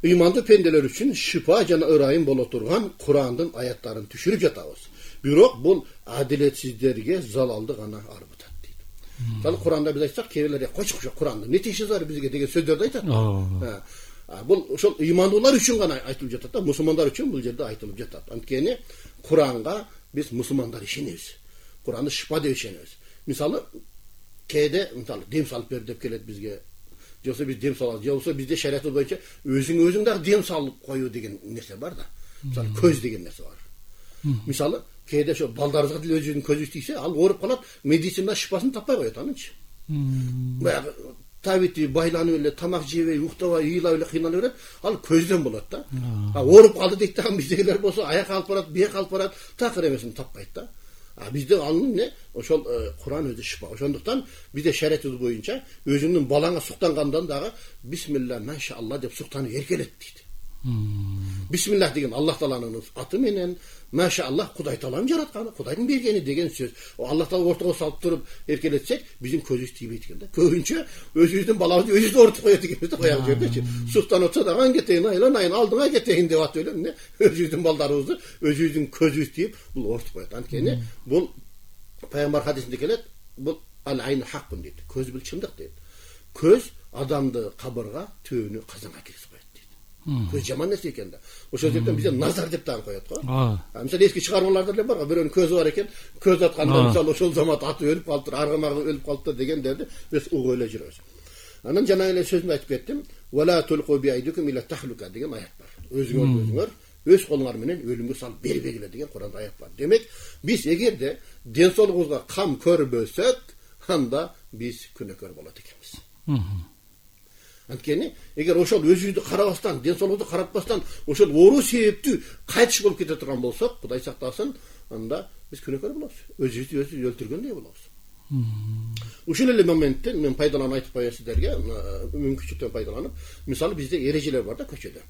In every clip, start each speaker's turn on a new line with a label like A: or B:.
A: ыймандуу пенделер үчүн шифа жана ырайым боло турган Курандын аяттарын түшүрүп жатабыз. Бирок бул адилетсиздерге залалды гана арбытат дейт. Мисалы Куранда биз айтсак, кээбилер койчу Куранда не тиеши бар бизге деген сөздөрдү айтат. Бул ошол ыймандуулар үчүн гана айтылып жатат да, мусулмандар үчүн бул жерде айтылып жатат. Анткени Куранга биз мусулмандар ишенебиз. Куранды шифа деп ишенебиз. Мисалы кээде дем салып бер деп келет бизге. Жоксо биз дем салабыз, жоксо бизде шариятыбыз боюнча өзүң дагы дем салып коюу деген нерсе бар да. Мисалы көз деген нерсе бар. Мисалы кээде ошо балдарыбызга деле өзүнүн көзү тийсе, ал ооруп калат, медицина шифасын таппай коет анычы. Баягы табити байланып эле тамак жебей, уктабай, ыйлап эле кыйналып берет, ал көздөн болот да. Ооруп калды дейт да, биздегилер болсо аяк алып барат, бияк алып барат, такыр эмесин таппайт да. Бизде анын эмне? Ошол Куран өзү шифа. Ошондуктан бизде шариятыбыз боюнча өзүңдүн балаңа суктангандан дагы бисмилла машалла деп суктанып эркелет дейт. Бисмиллах деген Аллах Тааланын аты менен, машалла Кудай Тааланын жаратканы, Кудайдын бергени деген сөз. Аллах Таала ортого салып туруп эркелетсек, биздин көзүбүз тийбейт экен да. Көбүнчө өзүбүздүн балабызды өзүбүз оорутуп коет экенбиз да, коягы жердечи. Суктанып атса дагы ан кетейин, айланайын, алдыңа кетейин деп атып эле эмне? Өзүбүздүн балдарыбызды өзүбүздүн көзүбүз тийип, бул оорутуп коет. Анткени бул пайгамбар хадисинде келет, бул ал-айн хаккун дейт. Көз бул чындык дейт. Көз адамды кабырга, түбүнү казанга киргизип коет. Көз жаман нерсе экен да. Ошол жерден бизде назар деп дагы коет го. Мисалы эски чыгармаларда эле бар го, бирөөнүн көзү бар экен, көз атканда мисалы ошол замат аты өлүп калыптыр, аргамагы өлүп калыптыр дегендерди биз угуп эле жүрөбүз. Анан жана эле сөзүндө айтып кеттим. Вала тулqu биайдикум ила тахлука деген аят бар. Өзүңөр өз колуңар менен өлүмгө салып бербегиле деген Куранда аят бар. Демек, биз эгерде ден соолугубузга кам көрбөсөк, анда биз күнөөкөр болот экенбиз. Анткени эгер ошол өзүбүздү карабастан, ден соолугубузду каратпастан, ошол оору себептүү кайтыш болуп кете турган болсок, Кудай сактасын, анда биз күнөөкөр болобуз. Өзүбүздү өлтүргөндөй болобуз. Ушул эле моменттен мен пайдаланып айтып коеюн сиздерге, мүмкүнчүлүктөн пайдаланып, мисалы бизде эрежелер бар да көчөдө.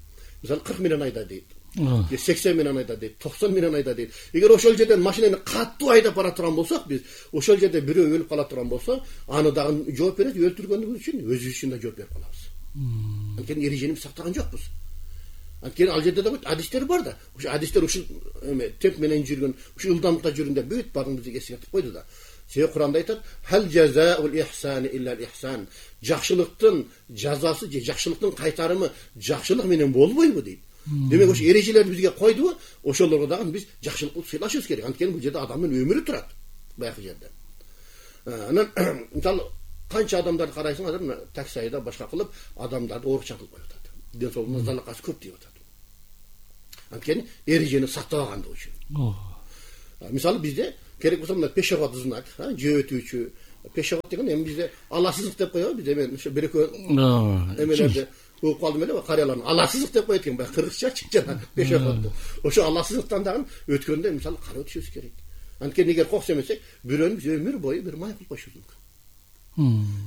A: Мисалы 40 миңнен айда дейт. 80 миңнен айда дейт, 90 миңнен айда дейт. Эгер ошол жерден машинаны каттуу айдап бара турган болсок, биз ошол жерде бирөө өлүп кала турган болсо, аны дагы жооп берет, өлтүргөндүгүбүз үчүн өзүбүз үчүн да жооп берип калабыз. Анткени эрежени сактаган жокпуз. Анткени ал жерде да адистер бар да. Ошо адистер ушул темп менен жүргөн, ушул ылдамдыкта жүргөндө бүт баарын бизге эскертип койду да. Себеби Куранда айтат: "Хал жазаул ихсани илля ихсан." Жакшылыктын жазасы же жакшылыктын кайтарымы жакшылык менен болбойбу дейт. Демек ошо эрежелерди бизге койдубу, ошолорго дагы биз жакшылык кылып сыйлашыбыз керек. Анткени бул жерде адамдын өмүрү турат. Баягы жерде. Анан мисалы канча адамдарды карайсың, адам такси айда башка кылып, адамдарды оорукчан кылып коюп атат. Ден соолугуна залакасы көп тийип атат. Анткени эрежени сактабагандыгы үчүн. Мисалы бизде керек болсо мына пешоход знак, жөө өтүүчү пешоход деген эми бизде аласыздык деп коебуз. Бизде мен ошо бир экөө эмелерди угуп калдым эле, карыяларын аласыздык деп коет экен, баягы кыргызчачы жана пешоходду. Ошо аласыздыктан дагы өткөндө мисалы карап өтүшүбүз керек. Анткени эгер коксемесек, бирөөнү биз өмүр бою бир май кылып коюшубуз мүмкүн.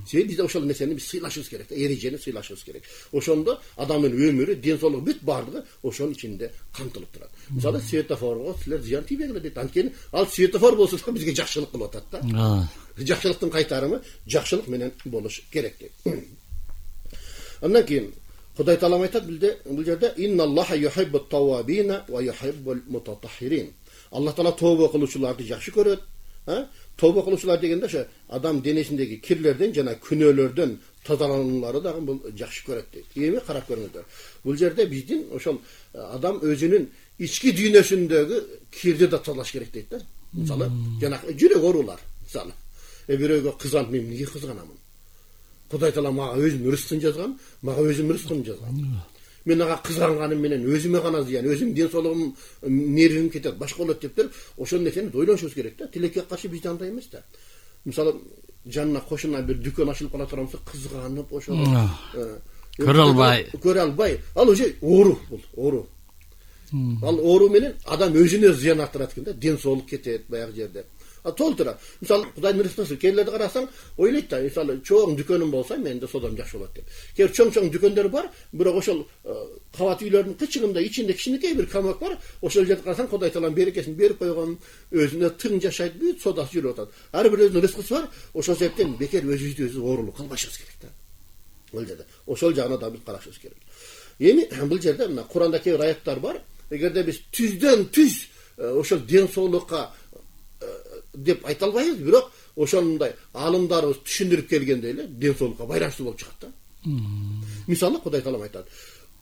A: Себеби бизде ошол нерсени биз сыйлашыбыз керек, эрежени сыйлашыбыз керек. Ошондо адамдын өмүрү, ден соолугу бүт баардыгы ошонун ичинде камтылып турат.Мисалы светофорго силер зыян тийбегиле дейт. Анткени ал светофор болсо да бизге жакшылык кылып атат да. Жакшылыктын кайтарымы жакшылык менен болуш керек дейт. Андан кийин Кудай Таалам айтат бул жерде: "Инналлаха юхиббут тавабина ва юхиббул мутатаххирин." Аллах Таала тооба кылуучуларды жакшы көрөт. Тооба кылуучулар дегенде ошо адам денесиндеги кирлерден жана күнөөлөрдөн тазалануулары дагы бул жакшы көрөт дейт. Эми карап көрүңүздөр. Бул жерде биздин ошол адам өзүнүн ички дүйнөсүндөгү кирди да тазалаш керек дейт да. Мисалы, жанагы жүрөк оорулар, мисалы. Бирөөгө кызганып, мен эмнеге кызганамын? Кудай Таала мага өзүнүн рызкын жазган, мага өзүнүн рызкын жазган. Мен ага кызганганым менен өзүмө гана зыян, өзүмдүн ден соолугум, нервим кетет, башка болот деп туруп, ошол нерсени ойлонушубуз керек да. Тилекке каршы бизде андай эмес да. Мисалы, жанына кошуна бир дүкөн ачылып кала турган болсо, кызганып, ошол көрө албай, ал уже оору бул, оору. Ал оору менен адам өзүнө зыян артырат экен да, ден соолук кетет баягы жерде. Толтура. Мисалы, Кудайдын рызкысы, кээрлерди карасаң, ойлойт да, мисалы, чоң дүкөнүм болсо, менде содам жакшы болот деп. Кээ чоң дүкөндөр бар, бирок ошол кабат үйлөрдүн кычыгында ичинде кичинекей бир камак бар, ошол жерде карасаң, Кудай Таалам берекесин берип койгон, өзүнө тың жашайт, бүт содасы жүрүп атат. Ар бир өзүнүн рызкысы бар, ошол себептен бекер өзүбүздү өзүбүз оорулук кылбашыбыз керек да. Ошол жагына да биз карашыбыз керек. Эми бул жерде мына Куранда кээ бир аяттар бар. Эгерде биз түздөн түз ошол ден соолукка деп айта албайбыз, бирок ошондой алымдарыбыз түшүндүрүп келгенде эле ден соолукка байланыштуу болуп чыгат да. Мисалы Кудай Таалам айтат: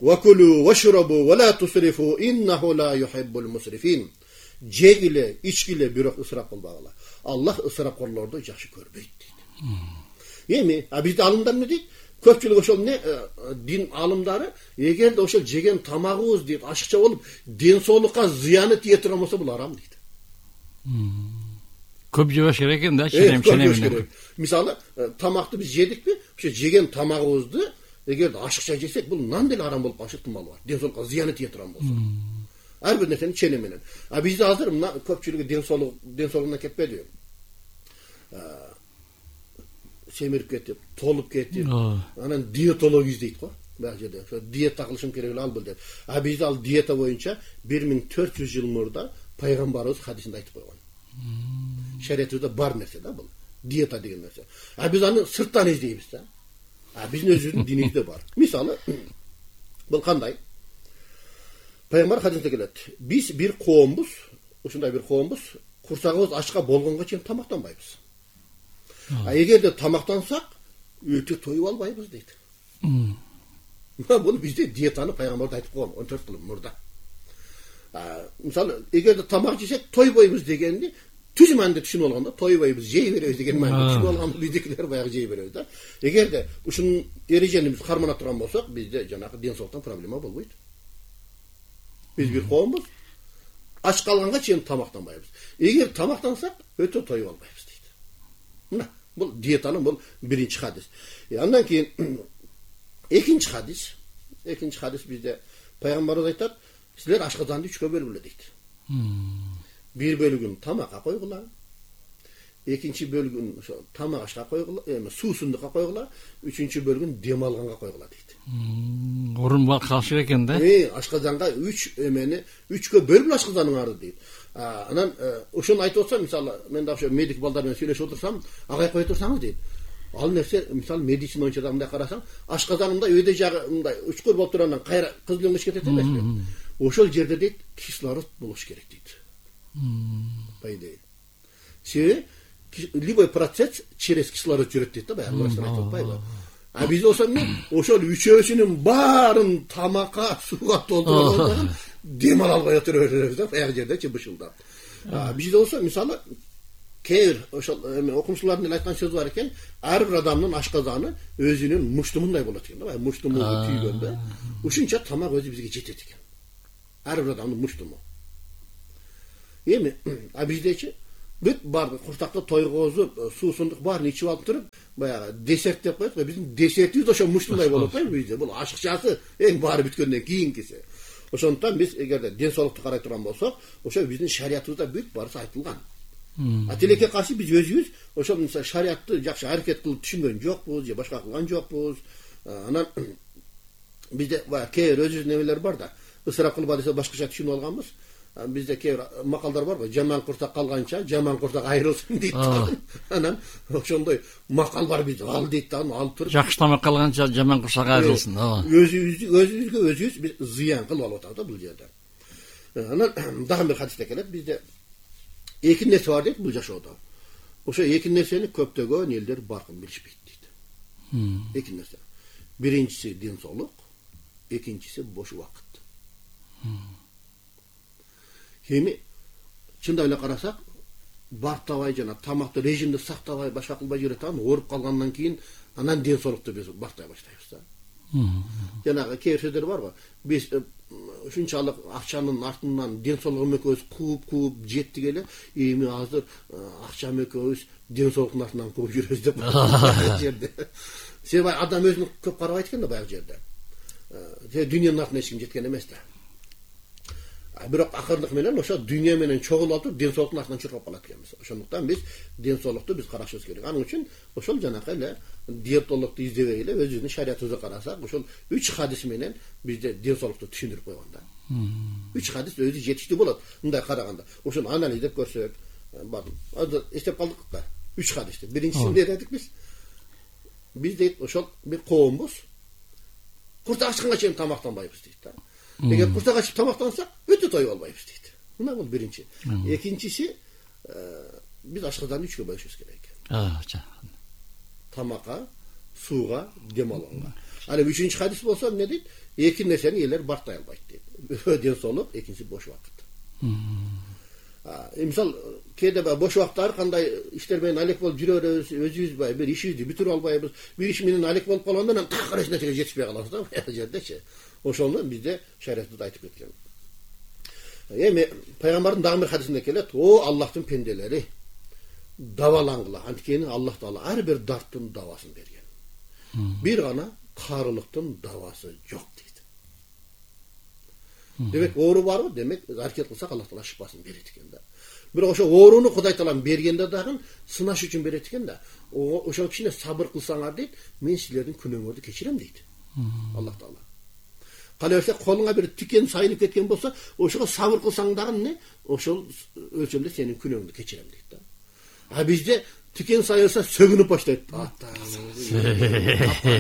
A: "Вакулу вашрабу ва ла тусрифу иннаху ла юхиббул мусрифин." Жегиле, ичкиле, бирок ысырап кылбагыла. Аллах ысырапкорлорду жакшы көрбөйт дейт. Эми бизде алымдар эмне дейт? Көпчүлүк ошол эмне дин алымдары эгерде ошол жеген тамагыбыз дейт ашыкча болуп ден соолукка зыяны тие турган болсо бул арам дейт.
B: Көп жебеш керек экен да, ченем.
A: Мисалы, тамакты биз жедикпи? Ошо жеген тамагыбызды эгерде ашыкча жесек, бул нан деле арам болуп калышы ыктымалы бар. Ден соолукка зыяны тие турган болсо. Ар бир нерсени чене менен. Бизде азыр мына көпчүлүгү ден соолугунан кетпедиби? Семирип кетип, толуп кетип, анан диетолог издейт го. Бул жерде ошо диета кылышым керек эле ал бул деп. Бизде ал диета боюнча 1400 жыл мурда пайгамбарыбыз хадисинде айтып койгон. Шариятыбызда бар нерсе да бул. Диета деген нерсе. Биз аны сырттан издейбиз да. Биздин өзүбүздүн динибизде бар. Мисалы, бул кандай? Пайгамбар хадисте келет. Биз бир коомбуз, ушундай бир коомбуз, курсагыбыз ачка болгонго чейин тамактанбайбыз. Эгерде тамактансак, өтө тоюп албайбыз дейт. Бул бизде диетаны пайгамбар айтып койгон 14 жыл мурда. Мисалы, эгерде тамак жесек тойбойбуз дегенди түз маанинде түшүнүп алганда, тойбойбуз, жей беребиз деген маанинде түшүнүп алганда биздикилер баягы жей беребиз да. Эгерде ушунун эрежени биз кармана турган болсок, бизде жанагы ден соолуктан проблема болбойт. Биз бир коомбуз, ач калганга чейин тамактанбайбыз. Эгер тамактансак, өтө тоюп албайбыз дейт. Мына, бул диетанын бул биринчи хадис. Андан кийин экинчи хадис. Экинчи хадис бизде пайгамбарыбыз айтат: "Силер ашказанды 3кө бөлгүлө" дейт. Бир бөлүгүн тамакка койгула, экинчи бөлүгүн ошо тамак ашка койгула, суусундукка койгула, үчүнчү бөлүгүн дем алганга койгула дейт.
B: Орун бар калышы экен да.
A: Ашказанга 3кө бөлүп ашказаның арды дейт. Анан ошону айтып отсам, мисалы, мен да ошо медик балдар менен сүйлөшүп отурсам, агай кое турсаңыз дейт. Ал нерсе, мисалы, медицина боюнча да мындай карасаң, ашказанында өйдө жагы мындай учкур болуп тургандан кайра кызыл өңгүч кетет эмеспи? Ошол жерде дейт кислород болуш керек дейт. Пайдей. Себеби любой процесс через кислород жүрөт дейт да, баягы врачтар айтып атпайбы? Биз болсо ошол үчөөсүнүн баарын тамакка, сууга толтуруп алган дем ала албай отура беребиз да, баягы жердечи бышылдап. Бизде болсо мисалы кээ бир ошол окумуштуулардын эле айткан сөзү бар экен, ар бир адамдын ашказаны өзүнүн муштумундай болот экен да, муштуму түйгөндө. Ушунча тамак өзү бизге жетет экен. Ар бир адамдын муштуму. Эми биздечи бүт барды курсакты тойгозуп, суусундук баарын ичип алып туруп, баягы десерт деп коет го. Биздин десертибиз ошо муштундай болуп атпайбы бизде? Бул ашыкчасы эң баары бүткөндөн кийинкиси. Ошондуктан биз эгерде ден соолукту карай турган болсок, ошо биздин шариятыбызда бүт баарысы айтылган. Тилекке каршы биз өзүбүз ошол мисалы шариятты жакшы аракет кылып түшүнгөн жокпуз, же башка кылган жокпуз. Анан бизде баягы кээ бир өзүбүздүн немелер бар да. Ысырап кылба десе башкача түшүнүп алганбыз. Бизде кээ бир макалдар бар го, жаман курсак калганча, жаман курсак айрылсын дейт. Анан ошондой макал бар бизде. Ал дейт да, алып туруп.
B: Жакшы тамак калганча, жаман курсак айрылсын.
A: Өзүбүзгө өзүбүз биз зыян кылып алып атабыз да бул жерде. Анан дагы бир хадисте келет, бизде эки нерсе бар дейт бул жашоодо. Ошо эки нерсени көптөгөн элдер баркын билишпейт дейт. Эки нерсе. Биринчиси ден соолук, экинчиси бош убакыт. Эми чындап эле карасак, бартабай жана тамакты режимди сактабай, башка кылбай жүрөт, анан ооруп калгандан кийин анан ден соолукту биз бартай баштайбыз да. Жанагы кээ бир сөздөр бар го. Биз ушунчалык акчанын артынан ден соолугум экөөбүз кууп жеттик эле, эми азыр акчам экөөбүз ден соолуктун артынан кууп жүрөбүз деп жерде. Себеби адам өзүн көп карабайт экен да баягы жерде. Дүйнөнүн артынан эч ким жеткен эмес да. Бирок акырындык менен ошо дүйнө менен чогулуп алып ден соолуктун артынан чуркап калат экенбиз. Ошондуктан биз ден соолукту биз карашыбыз керек. Анын үчүн ошол жанакы эле диетологду издебей эле өзүбүздүн шариятыбызга карасак, ошол 3 хадис менен бизде ден соолукту түшүндүрүп койгон да. 3 хадис өзү жетиштүү болот. Мындай караганда, ошону анализдеп көрсөк, азыр эстеп калдык да. 3 хадисти. Биринчиси эмне дедик биз? Биз дейт ошол бир коомбуз. Куртак ачканга чейин тамактанбайбыз дейт да. Эгер куртак ачып тамактансак, өтө той болбойбуз дейт. Мына бул биринчи. Экинчиси, биз ашказанды 3кө бөлүшүбүз керек. Тамакка, сууга, дем алууга. Аны 3-чү хадис болсо эмне дейт? Эки нерсени элер бартай албайт дейт. Ден соолук, экинчиси бош убакыт. Мисал, кээде бош убакыттар кандай иштер менен алек болуп жүрө беребиз, өзүбүз бир ишибизди бүтүрүп албайбыз. Бир иш менен алек болуп калганда анан так эч нерсеге жетишпей калабыз да, бул жердечи. Ошону бизде шариатыбызда айтып кеткен. Эми пайгамбардын дагы бир хадисинде келет: "О Аллахтын пенделери, давалаңгыла, анткени Аллах Таала ар бир дарттын давасын берген. Бир гана карылыктын давасы жок" дейт. Демек, оору барбы? Демек, аракет кылсак Аллах Таала шифасын берет экен да. Бирок ошо ооруну Кудай Таалам бергенде дагы сынаш үчүн берет экен да. Ошо кичине сабыр кылсаңар дейт, мен силердин күнөөңөрдү кечирем дейт. Аллах Таала. Кана берсе колуңа бир тикен сайылып кеткен болсо, ошого сабыр кылсаң дагы эмне? Ошол өлчөмдө сенин күнөөңдү кечирем дейт да. А бизде тикен сайылса сөгүнүп баштайт.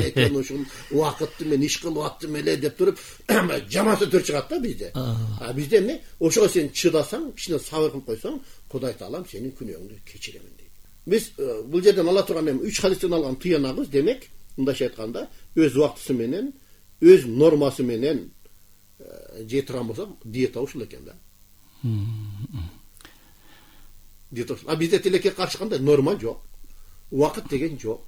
A: Экен ушул убакытты мен иш кылып аттым эле деп туруп, жаман сөздөр чыгат да бизде. А бизде эмне? Ошого сен чыдасаң, кичине сабыр кылып койсоң, Кудай Таалам сенин күнөөңдү кечиремин дейт. Биз бул жерден ала турган 3 хадистен алган тыянагыбыз, демек, мындайча айтканда, өз убактысы менен, өз нормасы менен жей турган болсок, диета ушул экен да. Диета. А бизде тилекке каршы кандай норма жок. Убакыт деген жок.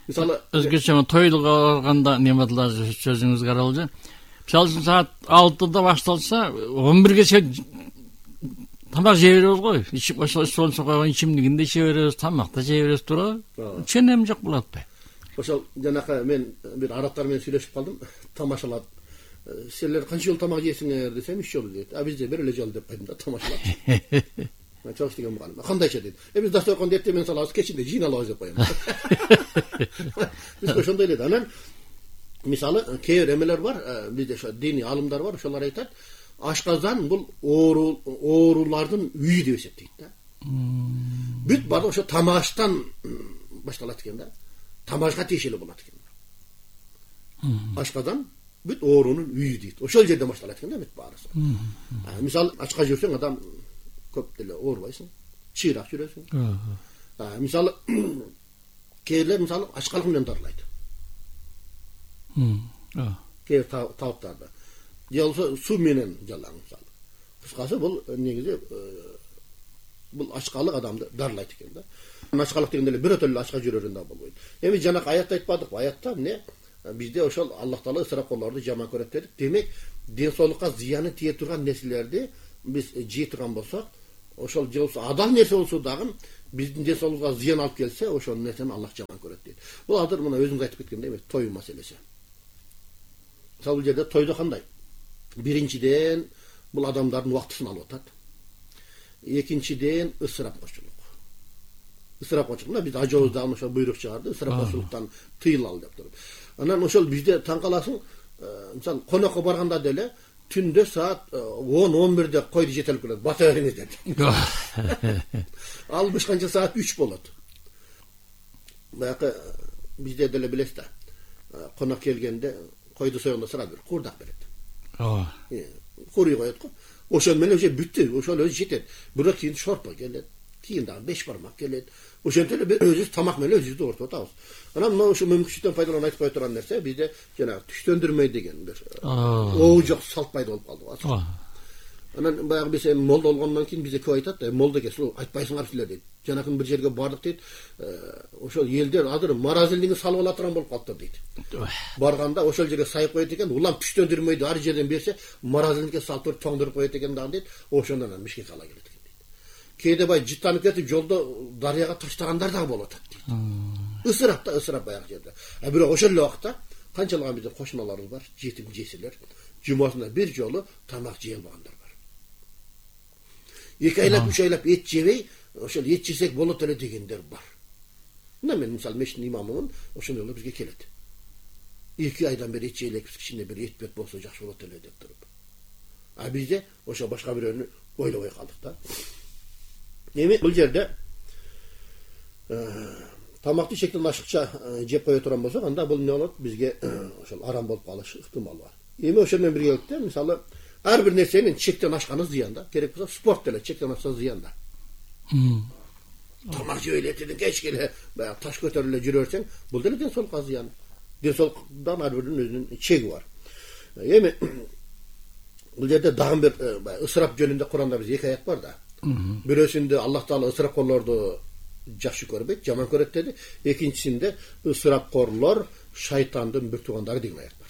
A: Мисалы,
B: өзгөчө тойлуга барганда неметлер сөзүңүз каралжы. Мисалы саат 6-да башталса, 11-ге чейин тамак жей беребиз го. Ичип ошол койгон ичимдигинде иче беребиз, тамакта жей беребиз туурабы? Ченем жок болот атпайбы? Ошол
A: жанакы мен бир арабтар менен сүйлөшүп калдым, тамашалап. Силер канча жол тамак жейсиңер десем, 3 жол дейт. А бизде бир эле жол деп койдум да, тамашалап. Чош деген мугалим. Кандайча дейт. Биз дастаркан эртең менен салабыз, кечинде жыйналабыз деп коем. Биз ошондой эле. Анан мисалы кээ бир эмелер бар, бизде ошо диний алымдар бар, ошолор айтат, ашказан бул оорулардын үйү деп эсептейт да. Бүт баары ошо тамаштан башталат экен да. Тамашка тиешелүү болот экен. Ашказан бүт оорунун үйү дейт. Ошол жерден башталат экен да бүт баарысы. Мисалы ачка жүрсөң адам көп деле оорубайсың, чыйрак жүрөсүң. Мисалы кээрлер мисалы ачкалык менен дарылайт. Кээ табыттарда. Же болсо суу менен жалаң мисалы. Кыскасы бул негизи бул ачкалык адамды дарылайт экен да. Ачкалык дегенде эле бирөө эле ачка жүрөрүн да болбойт. Эми жанакы аятта айтпадыкпы? Аятта эмне? Бизде ошол Аллах Таала ысырапкорлорду жаман көрөт дедик. Демек, ден соолукка зыяны тие турган нерселерди биз жей турган болсок, ошол же болсо адал нерсе болсо дагы биздин ден соолугубузга зыян алып келсе, ошол нерсени Аллах жаман көрөт дейт. Бул азыр мына өзүңүз айтып кеткендей эмес, той маселеси. Мисалы бул жерде тойдо кандай? Биринчиден бул адамдардын убактысын алып атат. Экинчиден ысырапкочулук. Ысырапкочулук, биз ажообуз дагы ошо буйрук чыгарды, ысырапкочулуктан тыйылалы деп туруп. Анан ошол бизде таң каласың, мисалы конокко барганда деле түндө саат 10-11-де койду жетелип келет, бата бериңиз деп. Ал бышканча саат 3 болот. Баягы бизде деле билесиз да. Конок келгенде койду союгунда сразу бир курдак берет. Куруй коет го. Ошол менен уже бүттү, ошол өзү жетет. Бирок кийин шорпо келет. Кийин дагы 5 бармак келет. Ошентип эле биз өзүбүз тамак менен өзүбүздү ортоп атабыз. Анан мына ошо мүмкүнчүлүктөн пайдаланып айтып кое турган нерсе бизде жанагы түштөндүрмөй деген бир оу жок салт пайда болуп калды. Анан баягы биз молдо болгондон кийин бизде көп айтат да, молдо келсе айтпайсыңар силер дейт. Жанакы бир жерге бардык дейт. Ошол элдер азыр маразилдиги салып ала турган болуп калыптыр дейт. Барганда ошол жерге сайып коет экен, улам түштөндүрмөйдү ар жерден берсе, маразилдикке салып туруп тоңдуруп коет экен дагы дейт. Ошондон анан Бишкекке ала келет экен дейт. Кээде бай жыттанып кетип жолдо дарыяга таштагандар дагы болот дейт. Ысырап да, ысырап баягы жерде. Бирок ошол эле убакта канчалаган бизде кошуналарыбыз бар, жетим жесирлер, жумасына бир жолу тамак жей албагандар бар. 2 айлап, 3 айлап эт жебей, ошол эт жесек болот эле дегендер бар. Мына мен мисалы мешіттин имамымын, ошондой эле бизге келет. 2 айдан бери эт жейлекпиз, кичине бир эт бет болсо жакшы болот эле деп туруп. А бизде ошо башка бирөөнү ойлобой калдык да. Эми бул жерде тамакты шектен ашыкча жеп кое турган болсок, анда бул эмне болот? Бизге ошол арам болуп калыш ыктымал бар. Эми ошол менен биргеликте мисалы ар бир нерсенин чектен ашканы зыян да. Керек болсо спорт деле чектен ашса зыян да. Тамак жеп эле кечке эле баягы таш көтөрүп эле жүрө берсең, бул деле ден соолукка зыян. Ден соолуктан ар биринин өзүнүн чеги бар. Эми бул жерде дагы бир ысырап жөнүндө Куранда биз эки аят бар да. Бирөөсүндө Аллах Таала ысырапкорлорду жакшы көрбөйт, жаман көрөт деди. Экинчисинде ысырапкорлор шайтандын бир туугандары деген аят бар.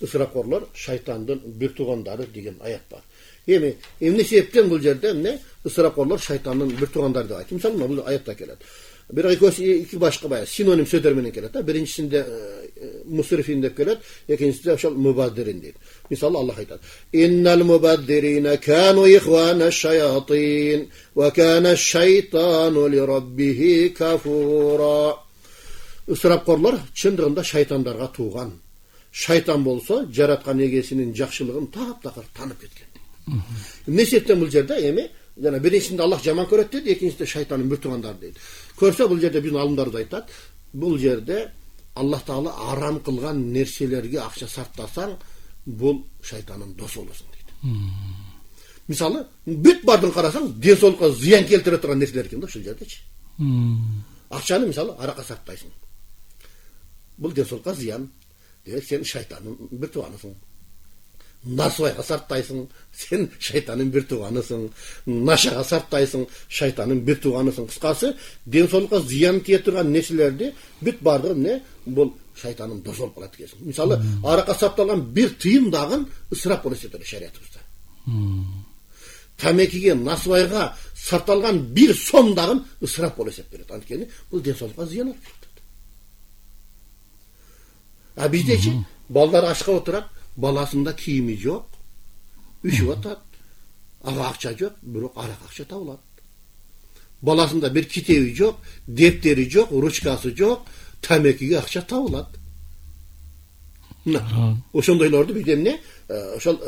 A: Ысырапкорлор шайтандын бир туугандары деген аят бар. Эми эмне себептен бул жерде эмне ысырапкорлор шайтандын бир туугандары деп айтты. Мисалы бул аятта келет. Бирок экөөсү эки башка баягы синоним сөздөр менен келет да. Биринчисинде мусрифин деп келет, экинчисинде ошол мубаддирин дейт. Мисалы Аллах айтат: "Иннал мубаддирина кану ихвана шаятин ва кана шайтану ли раббихи кафура." Ысырапкорлор чындыгында шайтандарга тууган. Шайтан болсо жараткан эгесинин жакшылыгын таптакыр танып кеткен. Эмне себептен бул жерде эми жана биринчисинде Аллах жаман көрөт дейт, экинчисинде шайтандын бир туугандары дейт. Көрсө бул жерде биздин алымдарыбыз айтат, бул жерде Аллах Таала арам кылган нерселерге акча сарптасаң, бул шайтандын досу болосуң дейт. Мисалы, бүт бардын карасаң, ден соолукка зыян келтире турган нерселер экен да ушул жердечи. Акчаны мисалы аракка сарптайсың. Бул ден соолукка зыян. Демек сен шайтандын бир тууганысың. Насыбайга сарптайсың, сен шайтандын бир тууганысың. Нашага сарптайсың, шайтандын бир тууганысың. Кыскасы, ден соолукка зыян келтирген нерселерди бүт бардыгы эмне? Бул шайтандын досу болуп калат экенсиң. Мисалы, аракка сарпталган бир тыйын дагы ысырап болот дейт шариятыбызда. Тамекиге, насыбайга сарпталган бир сом дагы ысырап болуп эсептелет. Анткени бул ден соолукка зыян алып келет. А биздечи балдар ашка отурат, баласында кийими жок, үшүп атат. Ага акча жок, бирок арак акча табылат. Баласында бир китеби жок, дептери жок, ручкасы жок, тамекиге акча табылат. Ошондойлорду биз эмне? Ошол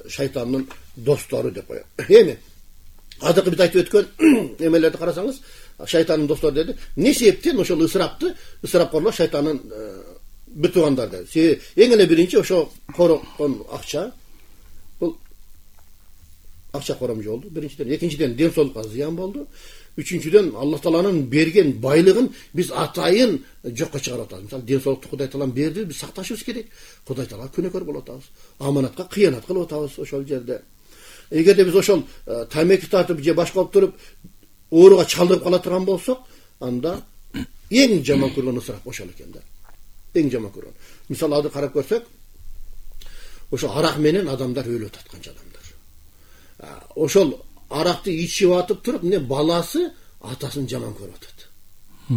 A: шайтандын достору деп коет. Эми азыркы биз айтып өткөн эмелерди карасаңыз, шайтандын достору деди. Не себептен ошол ысырапкорлор шайтандын бир туугандар деди. Эң эле биринчи ошо короккон акча, бул акча коромжу болду. Биринчиден, экинчиден ден соолукка зыян болду. Үчүнчүдөн Аллах Тааланын берген байлыгын биз атайын жокко чыгарып атабыз. Мисалы, ден соолукту Кудай Таалам берди, биз сакташыбыз керек. Кудай Таалага күнөөкөр болуп атабыз. Аманатка кыянат кылып атабыз ошол жерде. Эгерде биз ошол тамеки тартып же башка болуп туруп ооруга чалдырып кала турган болсок, анда эң жаман көргөн ысырап ошол экен да. Эң жаман көргөн. Мисалы, азыр карап көрсөк, ошо арак менен адамдар өлүп атат, канча адамдар. Ошол аракты ичип атып туруп, эмне баласы атасын жаман көрүп атат.